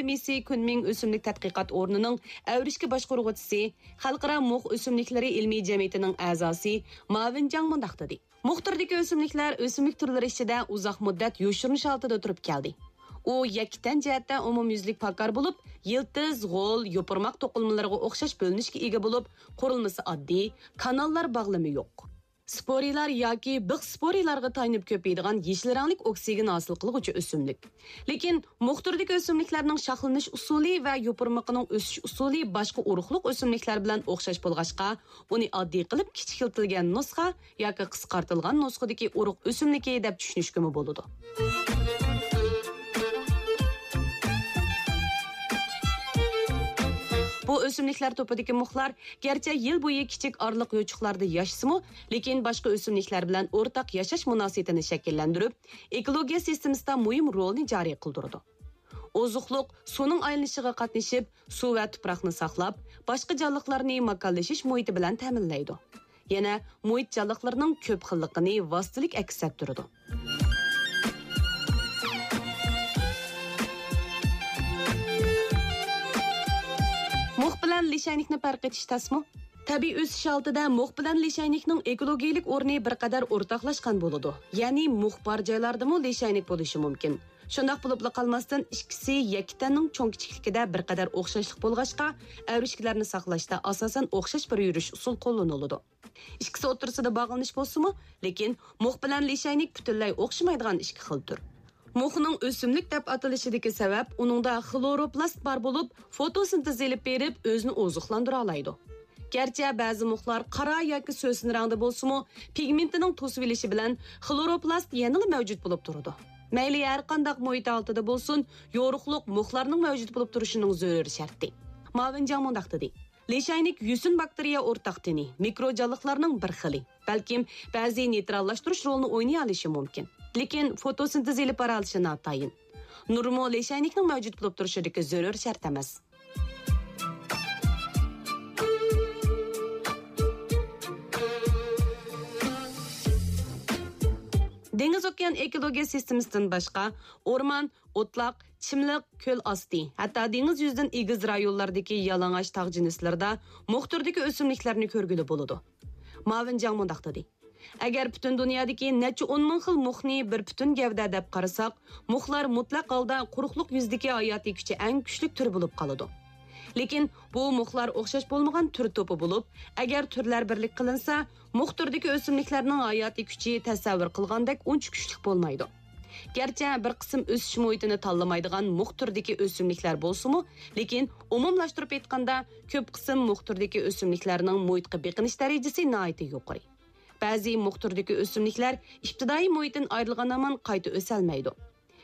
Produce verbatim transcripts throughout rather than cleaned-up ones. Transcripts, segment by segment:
مىسى كۈنمىڭ ئۆسۈملۈك تەتقىقات ئورنىنىڭ ئەۋرىشكە باشقۇرغۇچىسى، خەلقئارا مۇخ ئۆسۈملۈكلىرى ئىلمىي جەمئىيىتىنىڭ ئەزاسى ماۋىن جاڭ مۇنداق دېدى: مۇخ تۈرىدىكى ئۆسۈملۈكلەر ئۆسۈملۈك تۈرلىرى ئىچىدە ئۇزاق مۇددەت يوشۇرۇنۇش ھالىتىدە تۇرۇپ كەلدى. ئۇ يەككە تەن جەھەتتە ئومۇميۈزلۈك پاكار بولۇپ، يىلتىز، غول، يوپۇرماق توقۇلمىلىرىغا ئوخشاش بۆلۈنۈشكە ئىگە بولۇپ، قۇرۇلمىسى ئاددىي، كاناللار باغلىمى يوق. سپورىلار ياكى بىخ سپورىلارغا تايىنىپ كۆپىيىدىغان يېشىل رەڭلىك ئوكسىگېن ھاسىل قىلغۇچى ئۆسۈملۈك. لېكىن مۇخ تۈرىدىكى ئۆسۈملۈكلەرنىڭ شاخلىنىش ئۇسۇلى ۋە يوپۇرمىقىنىڭ ئۆسۈش ئۇسۇلى باشقا ئۇرۇقلۇق ئۆسۈملۈكلەر بىلەن ئوخشاش بولغاچقا، ئۇنى ئاددىي قىلىپ كىچىكلىتىلگەن نۇسخا ياكى قىسقارتىلغان نۇسخىدىكى ئۇرۇق ئۆسۈملۈكى دەپ چۈشىنىشكىمۇ بولىدۇ. بۇ ئۆسۈملۈكلەر توپىدىكى مۇخلار گەرچە يىل بويى كىچىك ئارىلىق يوچۇقلاردا ياشىسىمۇ، لېكىن باشقا ئۆسۈملۈكلەر بىلەن ئورتاق ياشاش مۇناسىۋىتىنى شەكىللەندۈرۈپ، ئېكولوگىيە سىستېمىسىدا مۇھىم رولنى جارى قىلدۇرىدۇ. ئوزۇقلۇق سۇنىڭ ئايلىنىشىغا قاتنىشىپ، سۇ ۋە تۇپراقنى ساقلاپ، باشقا جانلىقلارنى ماكانلىشىش مۇھىتى بىلەن تەمىنلەيدۇ. يەنە مۇھىت جانلىقلىرىنىڭ كۆپ خىللىقىنى ۋاسىتىلىك ئەكس ئەتتۈرىدۇ. مۇخ بىلەن لىشەينىكنى پەرق ئېتىش تەسمۇ؟ تەبىئىي ئۆسۈش ھالىتىدە مۇخ بىلەن لىشەينىكنىڭ ئېكولوگىيىلىك ئورنى بىر قەدەر ئورتاقلاشقان بولىدۇ. يەنى مۇخ بار جايلاردىمۇ لىشەينىك بولۇشى مۇمكىن. شۇنداق بولۇپلا قالماستىن، ئىككىسى يەككە تەننىڭ چوڭ كىچىكلىكىدە بىر قەدەر ئوخشاشلىق بولغاچقا، ئەۋرىشكىلەرنى ساقلاشتا ئاساسەن ئوخشاش بىر يۈرۈش ئۇسۇل قوللىنىلىدۇ. ئىككىسى ئوتتۇرىسىدا باغلىنىش بولسىمۇ، لېكىن مۇخ بىلەن لىشەينىك پۈتۈنلەي ئوخشىمايدىغان ئىككى خىل تۈر. مۇخنىڭ ئۆسۈملۈك دەپ ئاتىلىشىدىكى سەۋەب، ئۇنىڭدا خلوروپلاست بار بولۇپ، فوتوسىنتېز ئېلىپ بېرىپ، ئۆزىنى ئوزۇقلاندۇرالايدۇ. گەرچە بەزى مۇخلار قارا ياكى سۆسۈن رەڭدە بولسىمۇ، پىگمېنتىنىڭ توسۇۋېلىشى بىلەن خلوروپلاست يەنىلا مەۋجۇت بولۇپ تۇرىدۇ. مەيلى ھەر قانداق مۇھىت ھالىتىدە بولسۇن، يورۇقلۇق مۇخلارنىڭ مەۋجۇت بولۇپ تۇرۇشىنىڭ زۆرۈر شەرتى. ماۋىن جاڭ مۇنداق دېدى: لىشەينىك يۈسۈن باكتېرىيە ئورتاق تېنى، مىكرو جانلىقلارنىڭ بىر خىلى. بەلكىم بەزى نېيتراللاشتۇرۇش رولىنى ئوينىيالىشى مۇمكىن. لېكىن فوتوسىنتېز ئېلىپ بارالىشى ناتايىن. نۇرمۇ لىشەينىكنىڭ مەۋجۇت بولۇپ تۇرۇشىدىكى زۆرۈر شەرت ئەمەس. دېڭىز ئوكيان ئېكولوگىيە سىستېمىسىدىن باشقا، ئورمان، ئوتلاق، چىملىق، كۆل ئاستى، ھەتتا دېڭىز يۈزىدىن ئېگىز رايونلاردىكى يالىڭاچ تاغ جىنسلىرىدا مۇخ تۈرىدىكى ئۆسۈملۈكلەرنى كۆرگىلى بولىدۇ. ماۋىن جاڭ مۇنداق دېدى: ئەگەر پۈتۈن دۇنيادىكى نەچچە ئون مىڭ خىل مۇخنى بىر پۈتۈن گەۋدە دەپ قارىساق، مۇخلار مۇتلەق ھالدا قۇرۇقلۇق يۈزىدىكى ھاياتىي كۈچى ئەڭ كۈچلۈك تۈر بولۇپ قالىدۇ. لېكىن بۇ مۇخلار ئوخشاش بولمىغان تۈر توپى بولۇپ، ئەگەر تۈرلەر بىرلىك قىلىنسا، مۇخ تۈرىدىكى ئۆسۈملۈكلەرنىڭ ھاياتىي كۈچى تەسەۋۋۇر قىلغاندەك ئۇنچە كۈچلۈك بولمايدۇ. گەرچە بىر قىسىم ئۆسۈش مۇھىتىنى تاللىمايدىغان مۇخ تۈرىدىكى ئۆسۈملۈكلەر بولسىمۇ، لېكىن ئومۇملاشتۇرۇپ ئېيتقاندا، كۆپ قىسىم مۇخ تۈرىدىكى ئۆسۈملۈكلەرنىڭ مۇھىتقا بېقىنىش دەرىجىسى ناھايىتى يۇقىرى. بەزى مۇخ تۈرىدىكى ئۆسۈملۈكلەر ئىپتىدائىي مۇھىتتىن ئايرىلغان ھامان قايتا ئۆسەلمەيدۇ.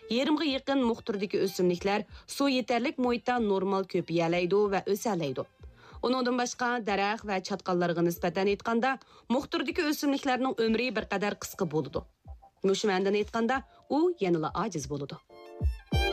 يېرىمغا يېقىن مۇخ تۈرىدىكى ئۆسۈملۈكلەر سۇ يېتەرلىك مۇھىتتا نورمال كۆپىيەلەيدۇ ۋە ئۆسەلەيدۇ. ئۇنىڭدىن باشقا، دەرەخ ۋە چاتقاللارغا نىسبەتەن ئېيتقاندا، مۇخ تۈرىدىكى ئۆسۈملۈكلەرنىڭ ئۆمرى بىر قەدەر قىسقا بولىدۇ. مۇشۇ مەنىدىن ئېيتقاندا، ئۇ يەنىلا ئاجىز بولىدۇ.